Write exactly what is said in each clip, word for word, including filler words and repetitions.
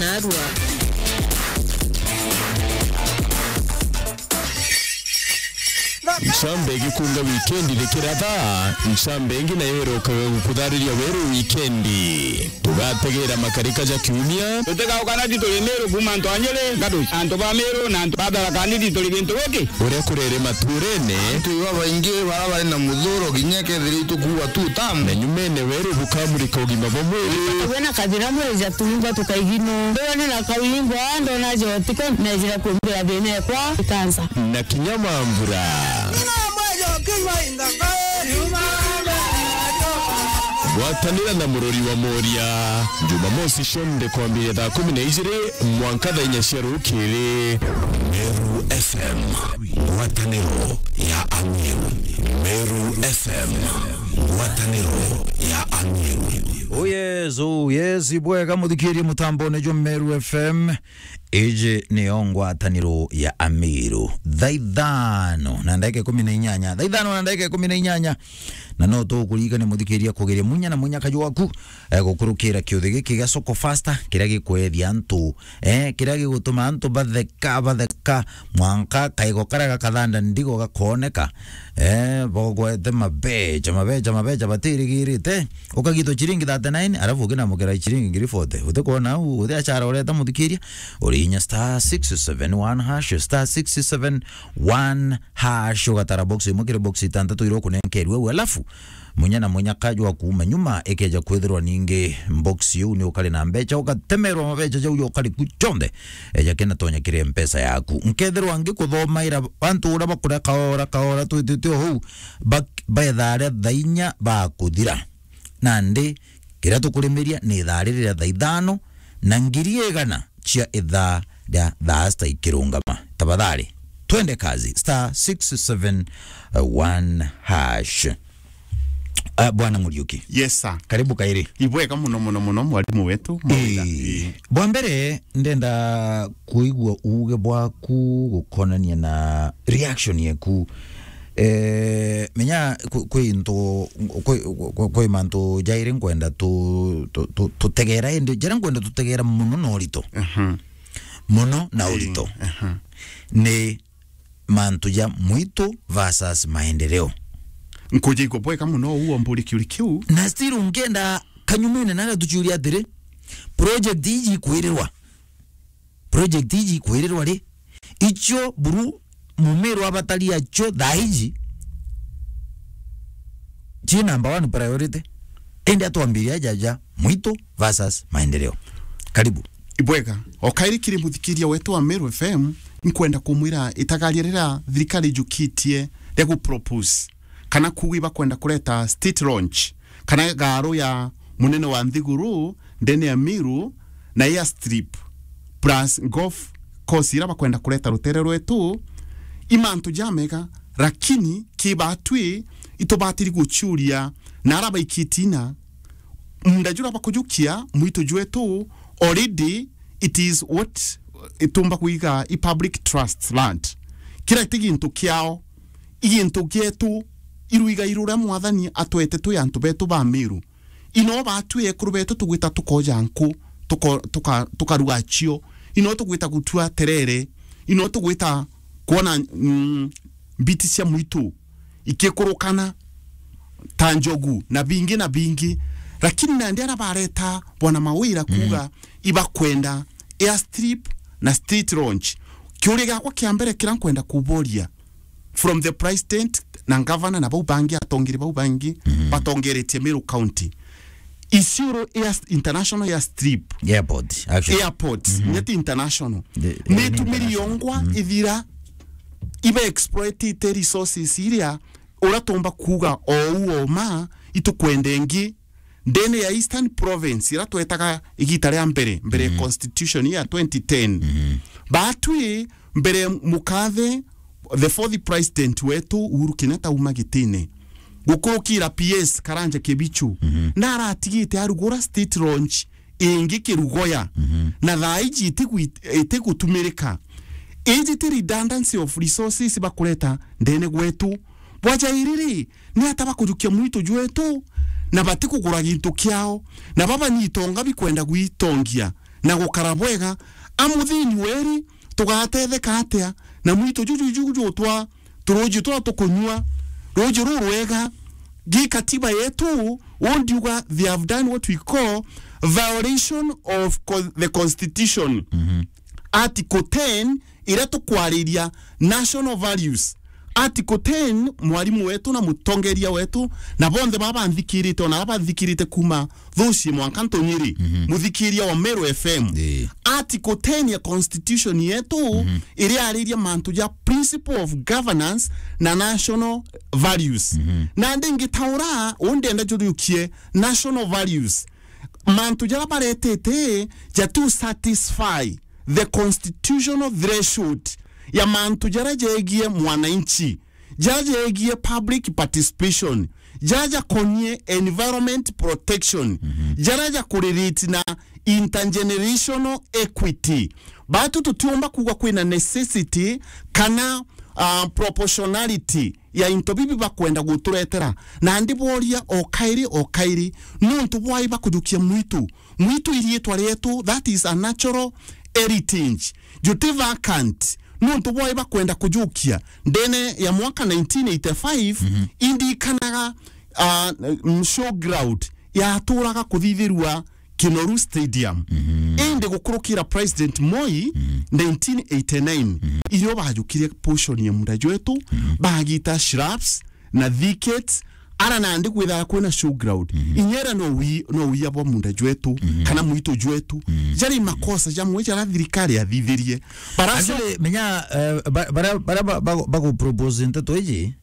Narua. Ncambe igikunga wikendi rikiratha, ncambe ingi nayo irokaga gukuthariria weru wikendi. Tugategera makarika ja kiumia. Tutigaukana ti turi Miru kuuma antu a Nyeri, Ngatuci, antu ba Miru na antu ba Tharaka Nithi turi gintu giki. Uria kurere maturene. Antu babaingi bara bari na muthuro kinya kethira itukuua tu tamu. Na nyumene weru bukamurika ugima bwa mwiri. Wina kathira mwiri ja tuingwa tukaigino. Ndona na kawingwa, ndona jotiko, nejira kumbira thina ekwa, ikansa. Na kinya mambura. Gwatanira na murori wa Moria, Jumamosi cionthe kwambiria thaa kumi na ijiri mwanka thaa inya cia rukiri. Meru F M, ngwataniro ya Amiru. Meru F M, ngwataniro ya Amiru. Oh yes, oh yes, ibwega muthikirie mutambone jwa Meru F M. Iji niyo ngwataniro ya Amiru. Thaa ithano na ndagika ikumi na inyanya. Thaa ithano na ndagika ikumi na inyanya. Na no tukuririkania muthikiria kugeria munya na munya kaju waku, eh, gukurukira kiuthi giki gia Soko Faster, kiria gikwethia antu, eh, kiria gigutuma antu batheka, batheka, mwanka kaigo karia gakathanda ndigo gakooneka, eh, bogwete mabecha, mabecha, mabecha batirigirite. Ukagitwa chiringi thirty-nine, alafu ukinamukira chiringi ngiri forty. Utikwona au, uthi achara ureta muthikiria, uri inya star six seven one hash, star six seven one hash, ugatara box imwe kiri box itantatu iria ukunenkerwe au, alafu munya na munya kaju wa kuuma nyuma ikeja kwithirwa ningi box iu ni ukari na mbecha, ugatemerwa mabecha jau ukari ku chonthe, eja kena tonya kiri mpesa yaku. Nkethirwa ngikuthomaira antu uria bakuria kaora kaora twitite o hau, bak-, ba ithaa ria thaa inya bakuthira. Nandi, kiria tukurimiria ni ithaa riri ria thaa ithano na ngiri igana cia ithaa ria thaa sita ikirungama. Tafadhali, twende kazi. Star six seven one hash. Ah, Bwana Muriuki. Yes, sir. Karibu kairi. Ibwega muno, muno, muno, mwarimu wetu, Mawira. Ii. Ii. Bwa mbere, ndenda kuigua uuge bwaku gukonania na reaction yeku. Eh, menya kwi, kwi into, kwi, kwi, kwi mantu jairi nkwenda tu, tu, tu, tutegera, indi jaria nkwenda tutegera muno na urito. Mhm. Muno na urito. Ii, aha. Ni mantu ja mwitu versus maendeleo. Nkuja igua bwega muno uu omburi kiuri kiu. Na still nkienda kanyumene naga tuciuria atiri, project iji ikwirirwa. Project iji ikwirirwa ri? Icio buru Mumiru abatari acio thaa iji, ci number one priority. Indi atwambiria jaja mwitu versus maendeleo. Karibu. Ibwega, o kairi kiri muthikiria wetu wa Meru F M, nkwenda kumwira itagaria riria thirikari ijukitie ria gupropose kana kuuga ibakwenda kureta state launch, kana gaaru ya munene wa nthiguru ndene ya Meru na airstrip plus golf course iria bakwenda kureta rutere rwetu, i mantu jamega, lakini kibatwi itubatiri guciuria na ara baikitina munda jura bakujukia mwitu jwetu, already it is what itumba kuiga i public trust land. Kira ti gintu kiao, i gintu gietu, iruiga iruria Mwathani atwete twi antu betu ba Meru. Ino batwi ekuru betu tugwita tukoja nku, tuko-, tuka-, tukaruga cio. Ino tugwita gutua terere. Ino tugwita kwona, mm, mbiti cia mwitu ikikurukana ta njogu na bingi na bingi. Lakini nandi ara bareta Bwana Mawira kuuga ibakwenda airstrip na state launch. Kiuria giakwa kia mbere kira nkwenda kuboria, from the president na governor na bau bangi, atongeri bau bangi batongeretie Meru County, Isiolo air, international airstrip, airport, actually. Airport, nyeti international. The, ni tumiri international. Yongwa ithira iba exploitite resources iria ura tumba kuuga ou oma itukwenda ingi ndene ya Eastern Province, ira twetaga igita ria mbere, mbere ya constitution ya twenty ten. Batwi mbere mukathe, the fourth president wetu Uhuru Kenyatta uma gitine, gukurukira P S Karanja Kibichu, na aratigite arugura state launch ingi Kirugoya, na thaa iji itigwi-, itigutumirika. Iji ti redundancy of resources bakureta ndene gwetu. Bwaja iriri, ni ata bakujukia mwitu jwetu, na batikugura gintu kiao, na baba ni itonga bikwenda gwitongia? na gukara bwega. A muthini weri, tugatetheka atia na mwitu juju juju jutwa turuji twa tukunyua, ruji rurwega? Gi katiba yetu, undiuga they have done what we call violation of co-, the constitution. Mhm. Article ten, iria tukwariria national values. Article ten, mwarimu wetu na mutongeria wetu, na bonthe baba banthikirite, ona baba banthikirite kuma Thuci mwanka Ntunyiri, mhm, muthikiria wa Meru F M. Ii. Article ten ya constitution yetu, mhm, iriariria mantu ja principle of governance na national values. Mhm. Na ndingitaura, u ndenda juriukie national values. Mantu jaria baretete jatu satisfy the constitutional threshold ya mantu jaria jegie mwananchi, jaria jegie public participation, jaria jakonie environment protection, mhm, jaria jakurelate na intergenerational equity. Batu tutiumba kuuga kwina necessity kana, ah, proportionality ya into bibi bakwenda guturetera. Na ndiboria o kairi, o kairi, nuntu bwai bakujukia mwitu? Mwitu iriitwa rietu, that is a natural heritage. Juti vacant, nuntu bwai bakwenda kujukia? Ndene ya mwaka nineteen eighty-five, mhm, indikanaga, ah, mm, showground yaturaga kuthithirua Kinoru Stadium. Mhm. Indi gukurukira President Moi, mhm, nineteen eighty-nine, mhm, irio bajukire portion ya munda jwetu, mhm, bagita shrubs na thickets, ara nandi kwithaga kwina showground. Mhm. Inyera no wi-, no wiya bwa munda jwetu, mhm, kana mwitu jwetu. Mhm. Jari makosa jamwe jaria thirikari yathithirie. Baraso- Actually, menya, eh, ba-, bara-, bara ba-, ba-, bagu propose nteto iji,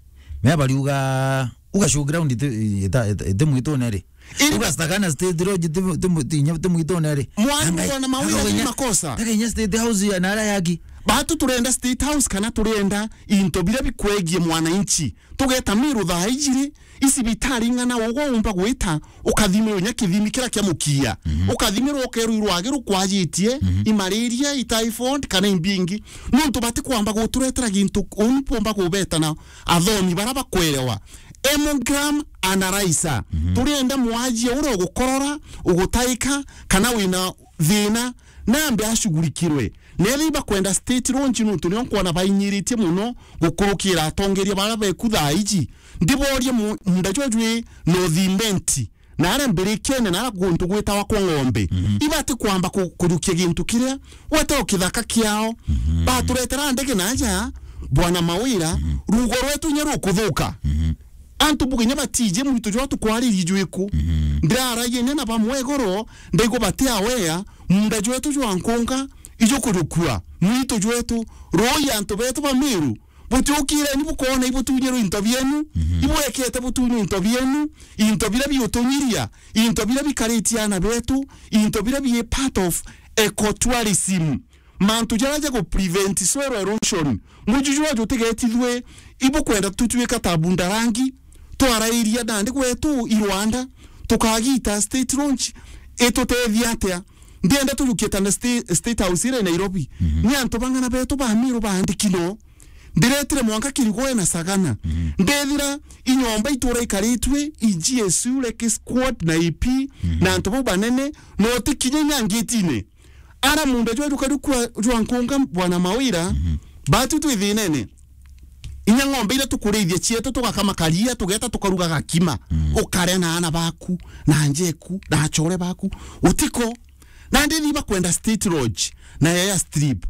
menya bariuga, uga showground iti, ita-, ita-, iti mwitune ri? Iri- Uga Sagana State Lodge ti, ti, ti, ti mwitune ri? Mwarimu Angai, bwana Mawira, aka ti uga makosa. Taka inya State House ya nara yaki. Batu turenda State House kana turenda into biria bikwegie mwananchi? Tugeta Meru thaa iji ri, icibitari ing'ana ugwe umba gwita, ukathimirwa inya kithimi kiria kia mukia. Mhm. Ukathimirwa ukerwa irwagi rukwajitie, mhm, imariria, i typhoid, kana imbingi. Nuntu batikwamba guturetera gintu uu, mpumba kubeta na athomi bara bakwerewa. Hemogram analyzer. Mhm. Turienda mwajie uria ugukorora, ugutaika, kana wina thina, nambe ashughulikirwe. Nethi bakwenda State Lodge nuntu nio nkwona bainyiritie muno gukurukira atongeria bara beku thaa iji. Ndiborie mu-, munda jwa jwi North Imenti, na aria mbirikene, na aria guntu gwitawa kwa ng'ombe. Mhm. Ibati kwamba ku-, kujukia gintu kiria gwetagwa kithaka kiao. Mhm. Baturetera ndege naja, Bwana Mawira, mhm, rugo rwetu inya rukuthuka. Mhm. Antu buga inya batiji mwitu jwa tukwaririe jwiku. Mhm. Ndiraragia inya na bamwe igoro, ndaigua bati aware, munda jwetu jwa nkunga, ijukujukua, mwitu jwetu, rui antu betu ba Meru, butiukireni bukoona ibutunyirwe into bienu, mhm, ibwekete butunyirwe into bienu, into biria biutunyiria, into biria bikaritie aana betu, into biria bi part of ecotourism. Mantu jaria ja gu prevent soil erosion. Muju jwa jutigetithwe, ibukwenda tutwika ta Bundarangi, twarairia nandi gwetu i Rwanda, tukagita State Lodge, itutethia atia? Ndienda tujukie ta na sta-, State House iri Nairobi. Mhm. Ni antu bang'ana betu ba Meru baandiki no. Ndiretire mwanka Kirigoe na Sagana. Mhm. Ndethira i nyomba itura ikaritue, i G S U, Lake Squad na A P, mhm, na antu bau banene, no tikinya inya ngitine. Ara munda jwa jukari kwa jwa nkunga, Bwana Mawira, mhm, batu twi thinene. Inya ng'ombe iria tukurithia cietu, tugakama karia, tugeta tukaruga gakima. Mm. Ukaria na ana baku, na njeku, na achore baku. Utiko. Na ndithi bakwenda State Lodge, na Yaya Strip.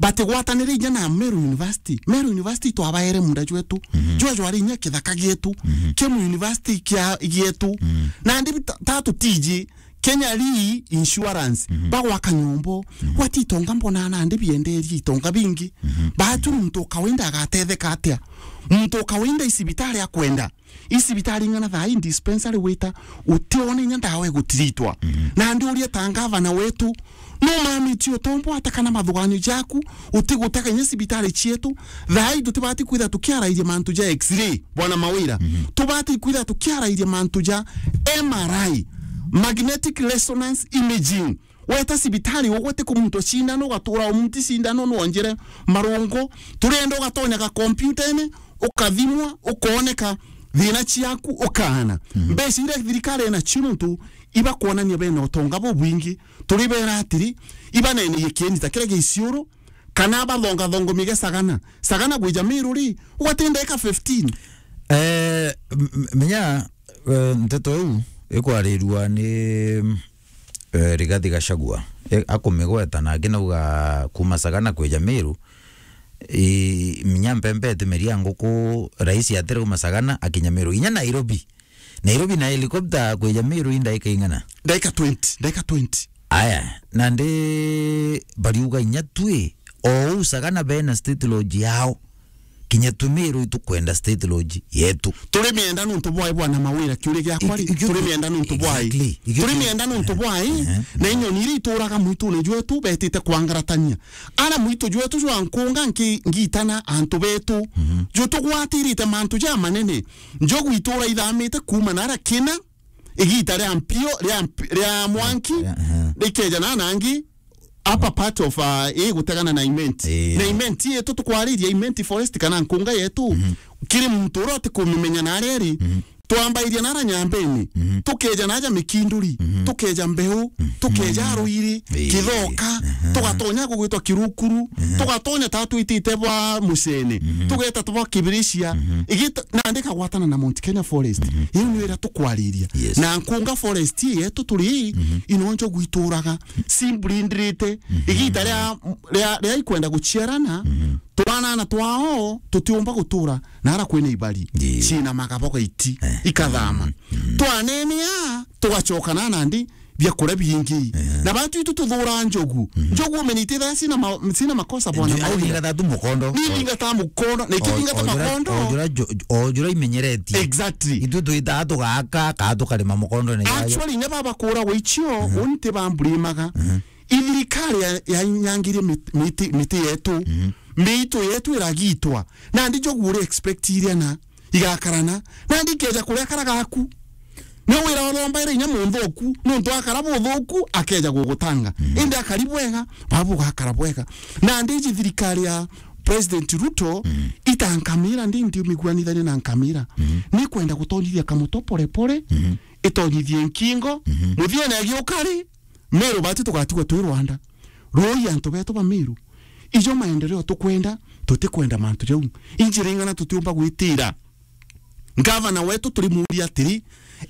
Batigwatanire inya na Meru University. Meru University twabaere munda jwetu. Mhm. Jwa jwari inya kithaka gietu. Mhm. Kemu University kia gietu. Mm. Na ndi ta-, tatu tiji Kenya Re Insurance, mhm, bagwaka nyombo, mhm, gwati itonga mbona nandi bienderie itonga bingi. Mhm. Batu muntu kawaida agatetheka atia? Muntu kawaida i cibitari akwenda. I cibitari ng'ana thaa i dispensary wita, utione inya ndawa igutiritwa. Mhm. Nandi urie ta ngavana wetu, no mamitie utombo ata kana mathuganio jaku, utigutega inya cibitari cietu, thaa i tutibati kwitha tukiarairia mantu ja X-ray. Bwana Mawira, mhm, tubati kwitha tukiarairia mantu ja M R I, magnetic resonance imaging. Weta cibitari ugwete ku muntu cindano, ugatura umuti cindano, nonjere marungu, turenda ugatonya ga kompyutene, ukathimwa, ukooneka thina ciaku, ukaana. Mhm. Mbeca iria thirikari ena cio nuntu ibakwonania bena utonga bubwingi, turi bera atiri, ibaneneye kieni ta kiria gia Isiolo, kana bathongathongomie gia Sagana. Sagana gwija Meru ri, ugati ndagika fifteen. Eh, m-, m-, menya, eh, nteto iu ikwarirua ni, eh, Rigathi Gachagua. E, akumigweta na angi nauga kuma Sagana kwija Meru, i, minya mpembe itimeria nguku, rais atirauma Sagana akinya Meru. Inya Nairobi. Nairobi na helicopter kwija Meru i ndagika ing'ana? Ndagika twenty, ndagika twenty. Aya, nandi bariuga inya twi, o uu Sagana bena State Lodge yao. Kinya twi Meru itukwenda State Lodge yetu. Turi mienda nuntu bwai bwana Mawira, kiuria giakwa ri, iki-, iki-, turi mienda nuntu bwai? Exactly. Iki-, turi mienda nuntu bwai? Ehe. Na inyoni iria ituraga mwitune jwetu betite kwangaratania. Ara mwitu jwetu jwa nkunga nki-, ngitana antu betu. Mhm. Jwe tugwatirite mantu ja manene. Njogu itura ithamite kuuma nara kina, igita ria mpio, ria mp-, ria mwanki, ria, aha, rikeja na nangi, upper part of, uh, igutegana na Imenti. Ii. Na Imenti yetu tukwariria Imenti Forest kana nkunga yetu, mhm, kiri muntu uria utikumimenya na aria iri, mhm, twambairia nara Nyambene, mhm, tukeja naja Mikinduri, mhm, tukeja Mbeu, mhm, tukeja Ruiri, ii, Kithoka, aha, tugatonya gugwitwa Kirukuru, mhm, tugatonya ta twitite bwa Mucene, mhm, tugeta twa Kibiricia, mhm, igita, nandi kagwatana na Mount Kenya Forest. Mhm. Iu niyo iria tukwariria. Yes. Na Nkunga Forest yetu turi, mhm, ino njogu ituraga, cimbrindirite, mhm, igita ria, ria, ria ikwenda guciarana, mhm, twanana twao tutiumba gutura nara kwina ibari, ii, cina magaboga iti, eh, ikathama. Mhm. Twanenea, tugacoka na nandi biakuria bingi. Eh. Na batu itu tuthura njogu. Mhm. Njogu umenite thaa cina ma-, cina makosa bwana Mawira. Au ninga tatu mukondo. Ni ninga ta mukondo. Na ikio ninga ta makondo. Ojura jo-, ojura imenyeretie. Exactly. Itu tuitaa tugaka, ka tukarima mukondo ni yayo. Actually, ne baba kura gwichio, mhm, unti bamburimaga. Mhm. Ithirikari ya, ya nyangirie mit-, miti, miti yetu. Mhm. Miitu yetu iragitwa. Nandi njogu uri expect iria na igakarana, nandi ikeja kuria kara gaku. Ni wira urombaira inya munthuku, nuntu akara buthuku, akeja gugutanga. Mhm. Indi akari bwega, baba bugakara bwega. Nandi iji thirikari ya President Ruto, mhm, itankamira, ndi ndiumiguanithania na nkamira. Mhm. Ni kwenda gutonyithia kamuto pore pore, mhm, itonyithie nkingo, mhm, muthiene agiukari, Meru bati tugatigwa twi Rwanda. Rui antu betu ba Meru. Ijo maendeleo tukwenda, tutikwenda mantu jau. Injira ing'ana tutiumba gwitira. Ngavana wetu turimuria atiri,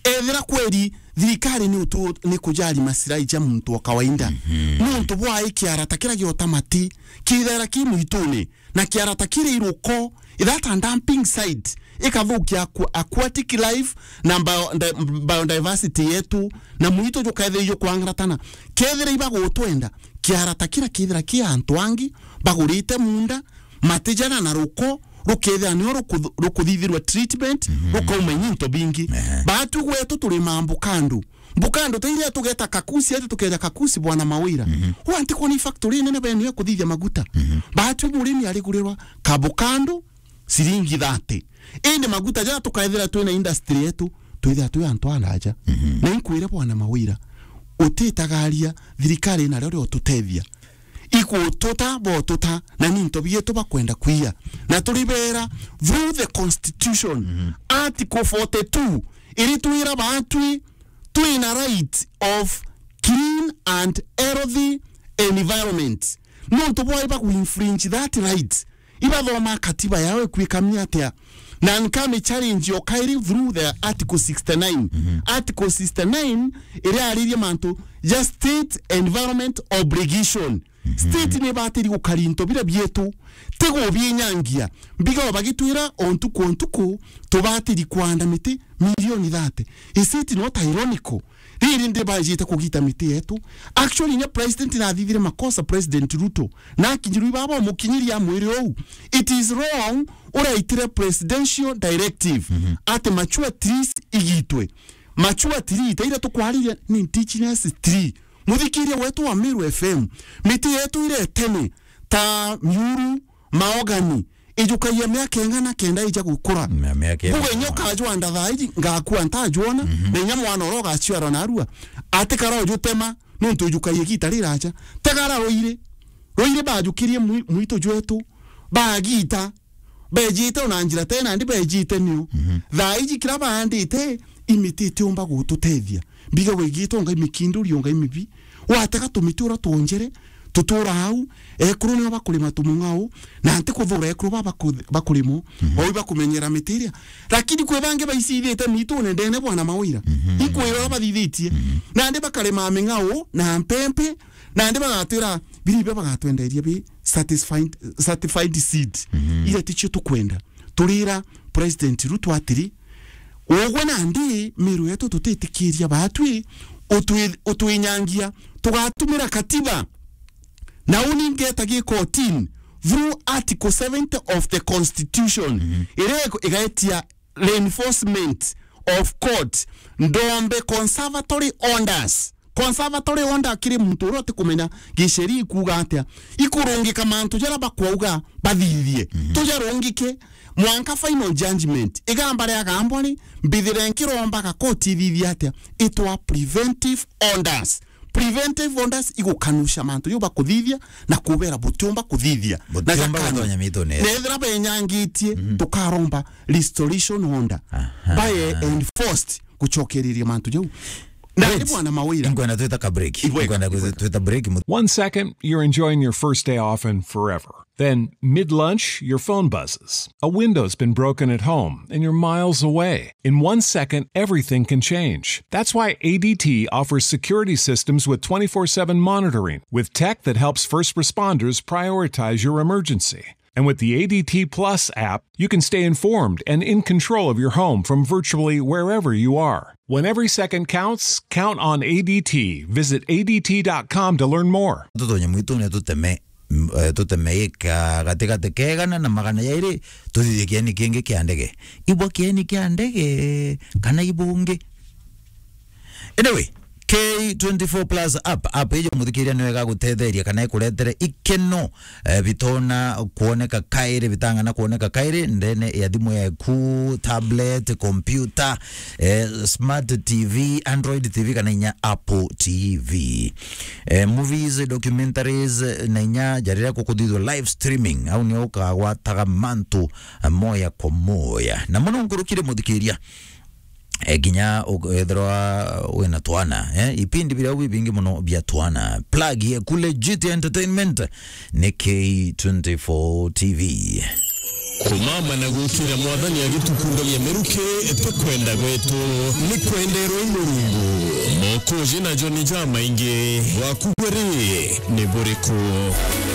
ethira kweri thirikari ni utu-, ni kujali masirai ja muntu wa kawaida. Mhm. Nuntu bwa ikiara ta kiria giota mati, kithera ki mwitune, na kiara ta kiri iruko, that a dumping site, ikathukia aqu-, aquatic life na bio-, di-, biodiversity yetu, na mwitu jukethira jukwangaratana. Kethira ibagutwenda, kiara ta kira kethira ki antu angi bagurite munda, matijana na ruko, rukethira nio ruku-, rukuthithirwa treatment, mhm, rukauma into bingi. Ehe. Batu gwetu turi mambo kando. Mbukando ta iria tugeta Kakusi, ati tukeja Kakusi, bwana Mawira. Mhm. Wanti kwona factory nene benu ya kuthithia maguta. Mhm. Batu murimi arigurirwa kabukando, ciringi thirty. Indi maguta ja tukaethira twina industry yetu, twithira twi antu araja. Mhm. Na inkwire bwana Mawira, utitagaria thirikari na rio riotutethia. Ikututa, botuta, na ni into bietu bakwenda kwiya. Na turibera, through the constitution, mhm, article forty-two, iritwira batwi twina right of clean and healthy environment. Nontu bwa iba ku infringe that right, ibathoma katiba yao ikwikamia atia? Na nkami challenge o kairi through the article sixty-nine. Mhm. Article sixty-nine iria aririe mantu ja state environment obligation. Mhm. State ni batiri gukari into bira bietu, ti gubinyangia. Mbiga bagitwira o ntuku o ntuku, tubatiri kwanda miti milioni thirty. Is it not ironical? Riri ndi bajite kugita miti yetu. Actually, nya president nathithire makosa, President Ruto, na akinyirwi baba umukinyiri ya mwiri ou. It is wrong, uraitire presidential directive, mhm, ati mature trees igitwe. Mature tree, ta iria tukwariria ni indigenous tree. Muthikiria wetu wa Meru F M, miti yetu iria itene, ta miuru, maogani, ijukagia miaka ing'ana kenda ija gukura. Mia-, miaka ing'ana. Mbuga inya ukajwanda thaa iji, ngakua ntajwona, mhm, na inya mwana uria ugaciarwa narua, atikara ujutema, nontu ijukagia igita riraja. Tegara ruiri. Ruiri bajukirie mwi-, mwitu jwetu, bagita, bejite ona njira tena, ndi bejite nio. Mhm. Thaa iji kira baandite, imiti itiumba gututethia. mbiga wigitwe, ongai mikinduri, ongai mibi. Watega tumiti ura twonjere, tutura au, ekuru nio bakurima tumung'au, na nti kuthura ekuru ba baku-, bakurimo, mhm, o ibakumenyera miti iria. Lakini kwi bangi baicithite miitune ndene bwana Mawira. Mhm. Ikwira uria bathithitie. Mhm. Nandi bakarima ming'au na mpempe, nandi bagatwira, biribe bagatwenderia bi certified, certified seed. Mhm. Iria ticio tukwenda. Turira President Ruto atiri, ugwe nandi miru yetu tutitikiria batwi utwi-, utwinyangia, tugatumira katiba. Na uni ngeta gikotini through Article seventy of the Constitution, mhm, iria ig-, igaetia reinforcement of court ndombe conservatory orders. Conservatory order kiri muntu uria utikumenya giceri ikuuga atia, ikurungika mantu jaria bakwauga bathithie. Mhm. Tujarungike mwanka final judgment. Igamba riagambwa ri, mbithire nkirombaga koti ithithie atia? Itwa preventive orders. Preventive orders igukanusha mantu jau bakuthithia na kubera butiumba kuthithia. Na butiumba jakanywa gutonya miitune. Na ethira benyangitie, mhm, tukaromba restoration order. Aha. Bae enforced gucokereria mantu jau. Na ni bwana Mawira. Nkwenda twita ka break. Ibwega, nkwenda ibwega. Twita break mu- One second, you're enjoying your first day off and forever. Then, mid-lunch, your phone buzzes. A window's been broken at home, and you're miles away. In one second, everything can change. That's why A D T offers security systems with twenty-four seven monitoring, with tech that helps first responders prioritize your emergency. And with the A D T Plus app, you can stay informed and in control of your home from virtually wherever you are. When every second counts, count on A D T. Visit A D T dot com to learn more. Tutonye mwitune tuteme, m-, eh, tuteme ika gatigati ka igana na magana jairi, tuthithie kieni kingi kia ndege. Ibwa kieni kia ndege, kana ibungi? Anyway, K twenty-four plus app. App ijo muthikiria niyo igagutetheria kana ikuretere ikeno, eh, bitona kuoneka kairi, bitang'ana kuoneka kairi ndene ya thimu yaku, tablet, computer, eh, smart T V, Android T V kana inya Apple T V. Eh, movies, documentaries, na inya jariria kukuthithwa live streaming, au nio ukagwataga mantu, eh, moya kwa moya. Na muno nkurukire muthikiria, eh, nginya u-, ethirwa wina twana, eh, ipindi biria bibingi muno bia twana. Plug ye ku Legit Entertainment ni K twenty-four T V. Kumama na gukira Mwathani agitukundavia miruki ti kwenda gwetu, ni kwenderwa i Murungu. Mokoji na joni jamaingi, bwaku bwe ri ni buriku?